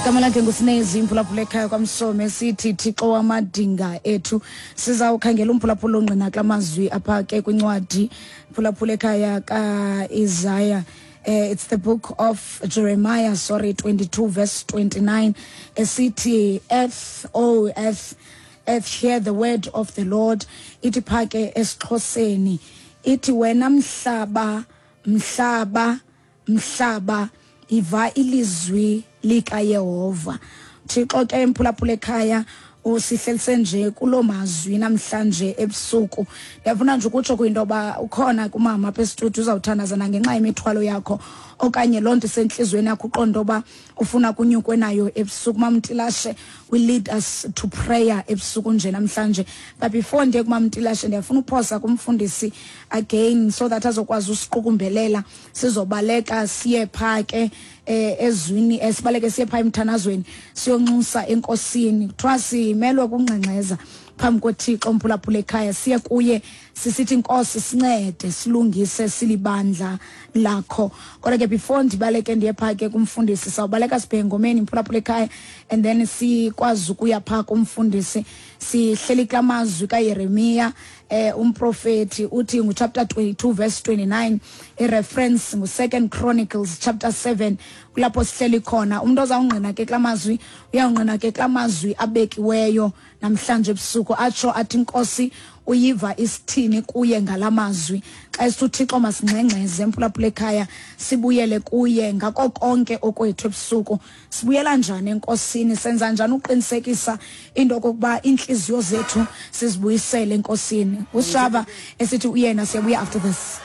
Igama lakhe nguSinezi, imphulaphula ekhaya kwaMsome. Sithi Thixo wamadinga ethu. Sizawukhangela umphulaphula ongqina kula mazwi apha ke kwincwadi, mphulaphula ekhaya, kaIsaiah. It's the book of Jeremiah, sorry, 22 verse 29, esithi, "Earth, oh earth, earth, hear the word of the Lord." Ithi pha ke esiXhoseni, ithi, "Wena mhlaba, mhlaba, mhlaba, iva ilizwi likaYehova." Thixo ke, mphulaphula ekhaya, usihlelise nje kuloo mazwi namhlanje ebusuku. Ndiyafuna nje ukutsho kwinto yoba ukhona kumama apha esitudio, uzawuthandaza nangenxa yemithwalo yakho okanye loo nto isentliziyweni yakho, uqonda uba ufuna kunyukwe nayo ebusuku. Mamtilashe will lead us to prayer ebusuku nje namhlanje, but before ndiye kumamtilashe, ndiyafuna uphosa kumfundisi again so that azokwazi usiqukumbelela. Sizobaleka siye phaa ke ezwini, sibaleke siye phaa emthandazweni, siyonxusa enkosini. Kuthiwa simelwe kungxengxeza phambi koThixo, mphulaphula ekhaya, siye kuye sisithi, "Nkosi, sincede, silungise, silibandla lakho." Kodwa ke before ndibaleke ndiye phaa ke kumfundisi, sawubaleka sibheke ngomeni, mphulaphula ekhaya, and then sikwazi ukuya phaa kumfundisi. Sihleli kula mazwi kaYeremiya, umprofeti, uthi nguchapter 22 verse 29, ireference ngu-Second Chronicles chapter 7. Kulapho sihleli khona. Umntu ozawungqina ke kula mazwi, uyawungqina ke kula mazwi abekiweyo namhlanje ebusuku, atsho athi inkosi uyiva isithini kuye ngala mazwi. Xa esithi uThixo masingxengxeze, mphulaphula ekhaya, sibuyele kuye ngako konke okwethu ebusuku. Sibuyela njani enkosini? Senza njani uqinisekisa into okokuba iintliziyo zethu sizibuyisele enkosini? Usijava esithi uyena. Siyabuya after this.